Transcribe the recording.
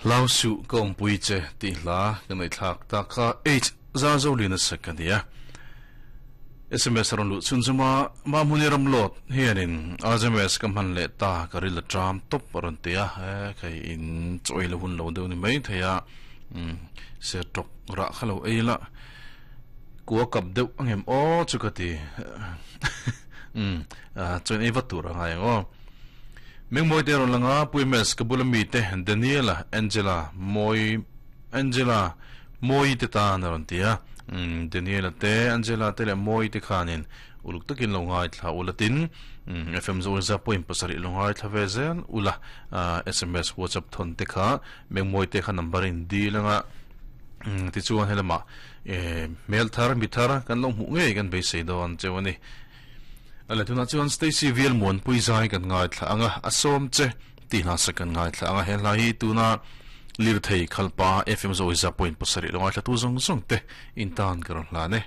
Hlau suh ka awmpui che tih hla ka ngaihthlak tak kha H Zarzolian a sak a ni a. Sms a rawn luh chhun chuma Mahmuni Ramlawt hianin RJMS ka hman leh ta ka ril a tram tawp a rawn ti a, he khai in chaw ei la hun lo deuh ni mai thei a, ser tawk rah kha lo ei la kua kap deuh a ngem aw chu ka ti chuan ei vat tur a ngai ang aw. Mengmawi te rawn lang a, Pu MS ka bula mite Daniela, Angela, Mawi, Angela, Mawi te tan a rawn ti a. Umm Daniela te, Angela te leh Mawi te khanin uluk takin lo ngaithla ula tin FM Zawlza point pasarih lo ngaithla ve zel ula sms WhatsApp thawn te kha Mengmawi te kha number in dil anga tichuan helamah hmel thar mi thar kan lo hmuh ngei kan beisei dawn cheu a ni. A le tunah chuan Stacy Vial Muanpui zai kan ngaithla ang a, a sawm che tih hla sak kan ngaithla ang a, he hla hi tuna lirthei khalpa FM Zawiza point pasarih lo ngaithlatu zawng zawng te in tan ka rawn hlan e.